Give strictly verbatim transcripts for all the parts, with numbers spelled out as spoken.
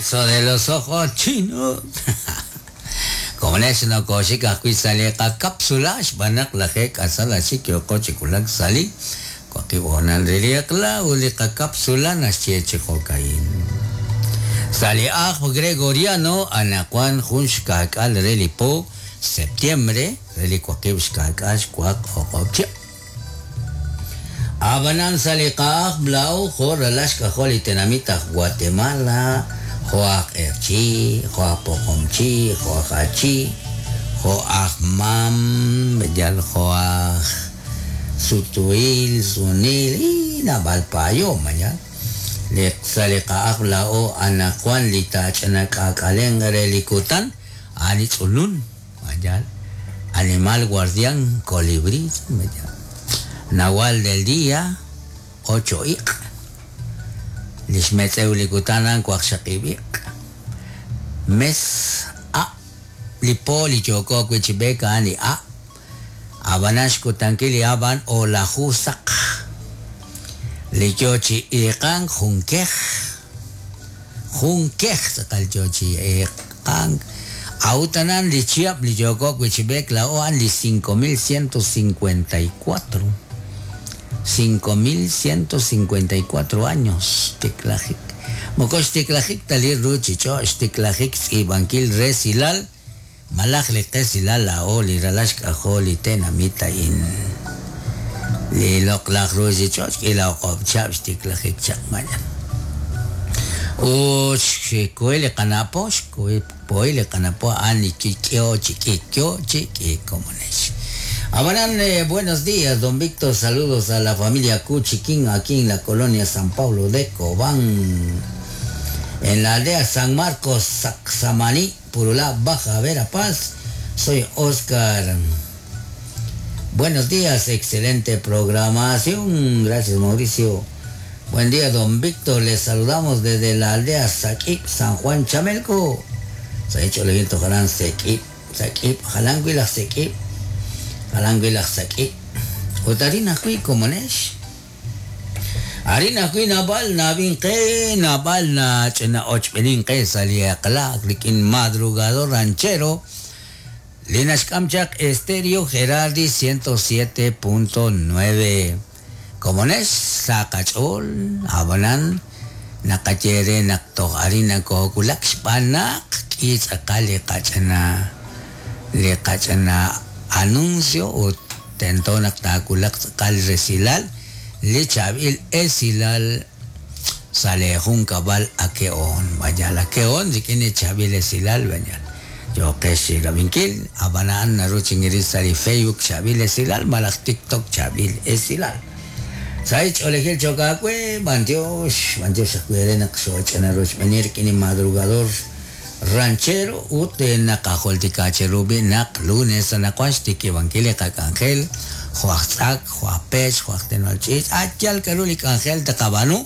Eso de los ojos chinos. Komonex nokoxik ajwi' sa' li qakapsula xb'aan naq lajeeb' k'asal axik yooko chi wulak sa' li waqib' hoonal re li eq'la ut li qakapsula naxye chi jo'ka'in. Sa' li ajb' gregoriano anaqwan jun xka'k'aal re li po septiembre re li waqib' xka'k'aal xwaq o'q'ob' chihab'. Ab'anan sa' li qa'ajb' la'o jo' ralal xk'ajol li tenamit aj Guatemala, jo' aj Q'eqchi, jo' aj Poqomchi, jo' aj Achi, jo' aj Mam, yal jo' aj Sutuil, Sunil, y naab'al paayom, ya. Li sa' li qa'ajb' la'o anaqwan li taach'ana k'aak'alen re li kutan, a'an li tz'ulun, yal. Animal guardián, colibrí, ya. Nahual del día, ocho iq'. Lix metz'ew li kutan a'an waqxaqib' iq'. Mes a li po li yooko wi' chi b'eek a'an li a. Ab'anan xkutankil li ab'an o'laju saq. Li yo chi iiqank jun kej. Jun kej tz'aqal yo chi iiqank. A'utanan li chihab' li yooko wi' chi b'eek la'o a'an li cinco mil ciento cincuenta y cuatro. cinco mil ciento cincuenta y cuatro años tiklajik. Moko xtiklajik tali ruchich'och' xtiklajik tz'iib'ankil resilal malaj li qesilal la'o li ralal xk'ajol li tenamit a'in. Li loq'laj ruchich'och' k'ila o'q'ob' chihab' xtiklajik chaq mañan. Ut xkuy li qanapo, xkuy poy li qanapo a'an li kik'io chi kik'io chi k'ikomonex. Ab'anan, eh, buenos días, don Víctor. Saludos a la familia Cuchiquín aquí en la colonia San Pablo de Cobán. En la aldea San Marcos, Sacsamaní, Purulá, Baja Verapaz. Soy Oscar. Buenos días, excelente programación. Gracias, Mauricio. Buen día, don Víctor. Les saludamos desde la aldea Saquip, San Juan Chamelco. Se ha hecho el viento Jalán Sequip, Saquip, Jalán Huila Sequip. Jalán Huila Saquip. Otarina Hui Comonesh. Arina Hui Nabal Nabin Ke, Nabal Na Chena Ochbenin Ke, Salía Cla, Rikin Madrugador Ranchero. Linash Kamchak Estéreo Gerardi ciento siete punto nueve. Comonesh, Sakachol, Abanan, Nakachere, Nakto, Arina Kokulak, Xpanak, Kitzakali Kachana, Le Kachana anuncio, u tentonak takulak kal resilal, le chabil esilal, sale junkabal akeon, vaya la keon, si tiene chabil esilal, vaya. Yo que si la vinkil, abanan naruchingiri sali Facebook chabil esilal, malak TikTok chabil esilal. Saich olegil chocacue, bantiosh, bantiosh acueren axoch, naruch venir kini madrugador ranchero, ute nakajolticacherubi, nak lunes, anacuachtiki, banquile, cacangel, juaxac, juapech, juaxtenolchich, achial carulic angel, tacabanu,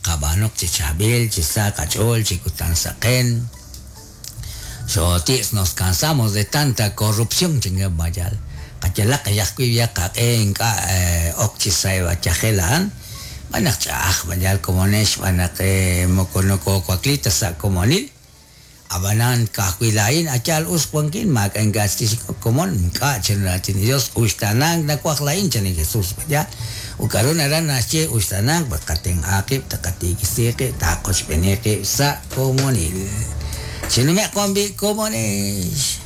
cabano, chichabil, chisacachol, chicutanzaquen. Xotis, nos cansamos de tanta corrupción, chingabayal. Cachalaka, yascuibia, caenca, okchisaiba, chajelan. Banachaj, bayal, comonesh, banake, moconoco, coaclita, sacomonil. Abanan kahuilain achal uspuankin mak engastis komon ka chenratin Dios ustanang nakuaklain chen Jesús ya ukarun aran nache ustanang bakaten akip takatikisike takos peneke sa komonil chinume kombi komonesh.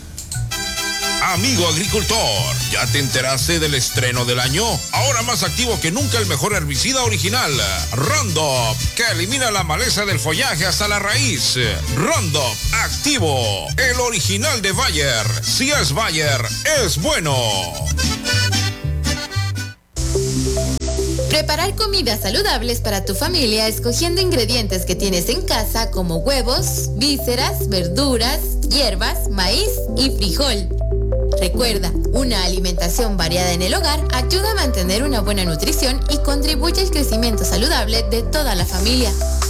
Amigo agricultor, ¿ya te enteraste del estreno del año? Ahora más activo que nunca el mejor herbicida original, Roundup, que elimina la maleza del follaje hasta la raíz. Roundup activo, el original de Bayer. Si es Bayer, es bueno. Preparar comidas saludables para tu familia escogiendo ingredientes que tienes en casa como huevos, vísceras, verduras, hierbas, maíz y frijol. Recuerda, una alimentación variada en el hogar ayuda a mantener una buena nutrición y contribuye al crecimiento saludable de toda la familia.